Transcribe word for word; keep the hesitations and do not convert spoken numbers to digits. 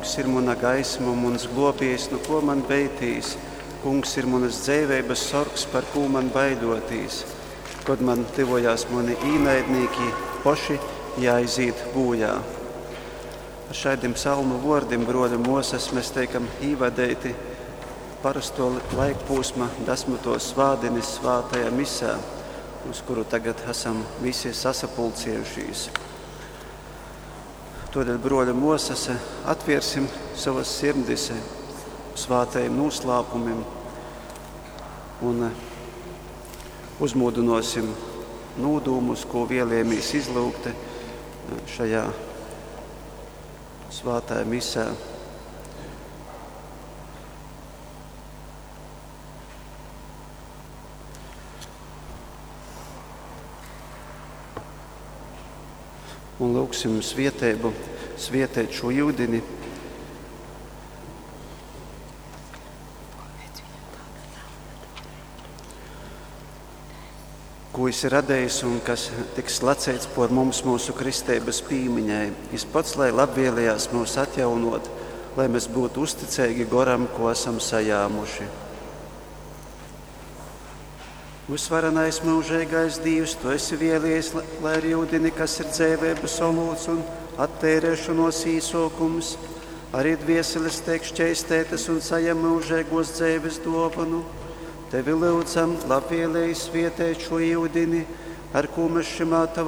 Kungs ir muna gaisma un muns globiejs, nu ko man beitīs? Kungs ir munas dzeiveibas sorgs, par kū man baiļotīs? Kod man tyvojās muni īnaidnīki, poši jāiziet bojā. Ar šādiem psalmu vōrdim, broļi mosas, mēs teikam īvadeiti parasto laikposma desmitos svādinis svātajā misā, uz kuru tagad esam visi sasapulcējušies. Todēļ, broļi mosas, atviersim savas sirdis svātajiem noslēpumiem un uzmodinosim nūdūmus, ko vēlējamies izlūgt šajā svētajā misē. Un lūgsim svietēbu, svietēt šo yudini. Ko jis ir radējis un kas tiks lacēts por mums mūsu kristeibas pīmiņai. Jis pats, lai labvēlējās mūs atjaunot, lai mēs būtu uzticīgi goram, ko esam sajāmuši. Visvarenais mūžīgais Dievs, tu esi vēlies, lai ar yudini, kas ir dzēvēbas olūts un attērēšanos īsokums, arī dvieseles tiek šķeistētas un sajem mūžīgos dzēves dovanu. Tevi lūdzam, labvēlēji svietēt šo yudini, ar ko mēs šimā tavā